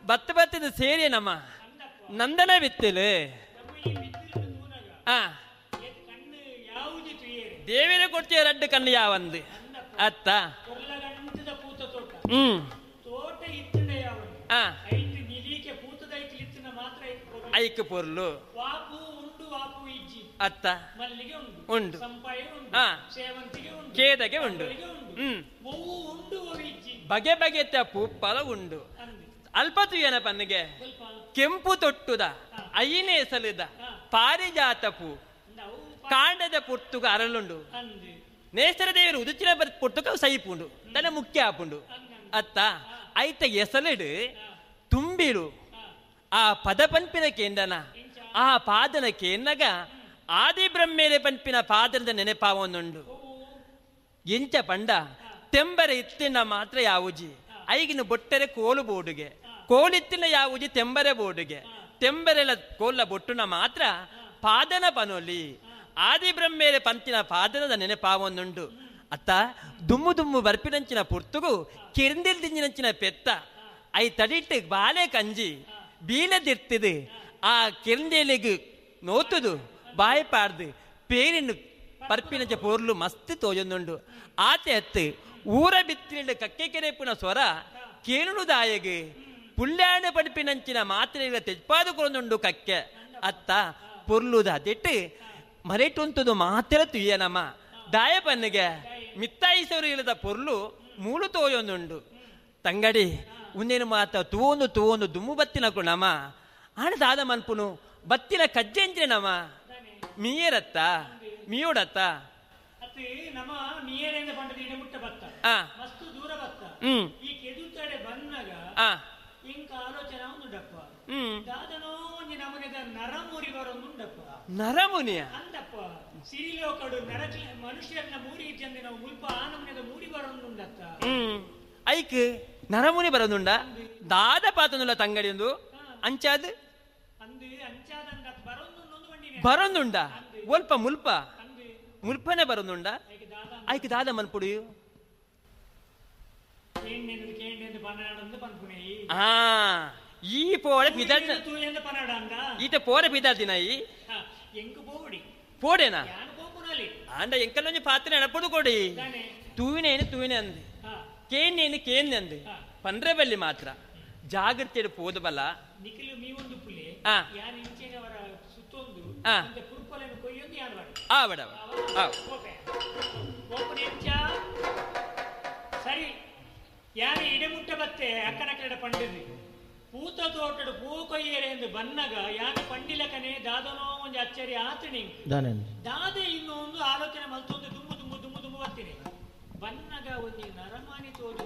ಬತ್ತ ಬತ್ತದ ಸೇರಿ ನಮ್ಮ ನಂದನ ಬಿತ್ತಲು. ಆ ದೇವಿನ ಕೊಡ್ತೀಯ ರಡ್ಡು ಕಣ್ಣು ಯಾವಂದು ಅತ್ತ. ಹ್ಮ್ ಐಕ್ ಪೊರ್ಲು ಅತ್ತ ಉಂಡು ಕೇದಗೆ ಉಂಡು. ಹ್ಮ್ ಬಗೆ ಬಗೆತ ಪೂಪ್ಪಲ ಉಂಡು. ಅಲ್ಪ ತುಯನ ಪನ್ನಿಗೆ ಕೆಂಪು ತೊಟ್ಟುದ ಐನೇ ಸಲದ ಪಾರಿಜಾತ ಪೂ ಕಾಂಡದ ಪುರ್ತುಗ ಅರಳುಂಡು. ನೇಸರ ದೇವರು ಉದುಚಿನ ಪುರ್ತುಕ ಸೈಪುಂಡು ತನ್ನ ಮುಖ್ಯ ಆಪುಂಡು ಅತ್ತ. ಐತ ಎಸಲಿಡು ತುಂಬಿರು ಆ ಪದ ಪನ್ಪಿನ ಕೇಂದನ ಆ ಪಾದನ ಕೇಂದಗ ಆದಿ ಬ್ರಹ್ಮೇರೆ ಪನ್ಪಿನ ಪಾದನದ ನೆನಪಾವೊಂದುಂಡು. ಎಂಚ ಪಂಡ ತೆಂಬರೆ ಇತ್ತಿನ ಮಾತ್ರ ಯಾವುಜಿ ಐಗಿನ ಬೊಟ್ಟರೆ ಕೋಲು ಬೋಡುಗೆ ಕೋಲಿತ್ತಿನ ಯಾವುಜಿ ತೆಂಬರೆ ಬೋಡುಗೆ ತೆಂಬರೆಲ ಕೋಲ ಬೊಟ್ಟುನ ಮಾತ್ರ ಪಾದನ ಪನೊಲಿ ಆದಿ ಬ್ರಹ್ಮೇರೆ ಪಂತಿನ ಪಾದನದ ನೆನಪಾವೊಂದುಂಡು ಅತ್ತ. ದುಮ್ಮು ದುಮ್ಮು ಬರ್ಪಿನಂಚಿನ ಪುರ್ತುಗು ಕಿರಿಂದಿಲ್ ದಿಂಜಿನಂಚಿನ ಪೆತ್ತ I ತಡಿಟ್ಟು ಬಾಲೆ ಕಂಜಿ ಬೀಲದಿರ್ತಿದು ಆ ಕಿರಿಂದೇಲಿಗೆ ನೋತುದು ಬಾಯಿ ಪಾಡ್ದು ಪೇರಿನ ಪರ್ಪಿನಂಚ ಪೋರ್ಲು ಮಸ್ತ್ ತೋಜೊಂದುಂಡು. ಆತೆ ಅತ್ತು ಊರ ಬಿತ್ತಿನ ಕಕ್ಕೆ ಕೆರೆಪುನ ಸ್ವರ ಕೇಳುದಾಯಗೆ ಪುಲ್ಯಾಣ ಪಡಿಪಿನಂಚಿನ ಮಾತ್ರೆಗಳ ತೆಜ್ಪಾದು ಕೊರೊಂದುಂಡು ಕಕ್ಕೆ ಅತ್ತ. ಪೊರ್ಲುದ ಅದಿಟ್ಟು ಮರೆಟುಂತುದು ಮಾತ್ರ ತುಯ್ಯನಮ್ಮ ದಾಯ ಪನ್ನಿಗೆ ಮಿತ್ತಾಯಿಸವರು ಇಲ್ಲದ ಪೊರ್ಲು ಮೂಲು ತೋಯೊಂದುಂಡು. ತಂಗಡಿ ಉಂದೇನು ಮಾತ ತೂವೊಂದು ತೂವೊಂದು ದುಮ್ಮು ಬತ್ತಿನ ನಮ ಆಣ ದಾದ ಮನ್ಪುನು ಬತ್ತಿನ ಕಜ್ಜೆಂಜಿನ ನಮ ಮೀಯರತ್ತ ಮೀಯೋಡತ್ತ ನರಮುನಿಯ ಐಕ್ ನರಮುನಿ ಬರೋದುಂಡ ದಾದ ಪಾತನುಲ್ಲ ತಂಗಡಿ ಒಂದು ಅಂಚಾದ ಬರೋದುಂಡ ಒಲ್ಪ ಮುಲ್ಪ ಮುಲ್ಪನೆ ಬರೋದುಂಡ ಐಕ್ ದಾದ ಮನ್ಪುಡು. ಆ ಈ ಪೋಡೆ ಪಿದಾದ ಈತ ಪೋರೆ ಪಿದಾದಿನ ಈ ಪೋಡೆನಾ ಆಂಡ ಎಂಕಲ್ಲೊಂಜಿ ಪಾತ್ರೆ ನಡಪುಡು ಕೊಡಿ ತೂವಿನೇನು ತೂವಿನೆ ಅಂದು ಕೇನೇನು ಕೇನ್ ಅಂದು ಪಂದ್ರೆ ಬಲ್ಲಿ ಮಾತ್ರ ಜಾಗೃತಿ ಪೋದು ಬಲ್ಲ. ಸರಿ ಯಾರು ಇಡಮುಟ್ಟ ಬತ್ತೆ ಅಕ್ಕನ ಕಡೆ ಪಂಡಿದ್ರಿ ಪೂತ ತೋಟಡು ಪೂ ಕೊಯ್ಯರೆ ಎಂದು ಬನ್ನಗ ಯಾನು ಪಂಡಿಲಕನೆ ದಾದನೋ ಒಂದು ಅಚ್ಚರಿ ಆತಣಿ ದಾದೆ ಇನ್ನೊಂದು ಆಲೋಚನೆ ಮಲ್ತೊಂದು ದುಮ್ಮು ದುಮ್ಮು ದುಮ್ಮು ದುಮ್ಮು ಬರ್ತೀನಿ ಬನ್ನಗ ಒಂದು ನರಮಾನಿ ತೋಜು.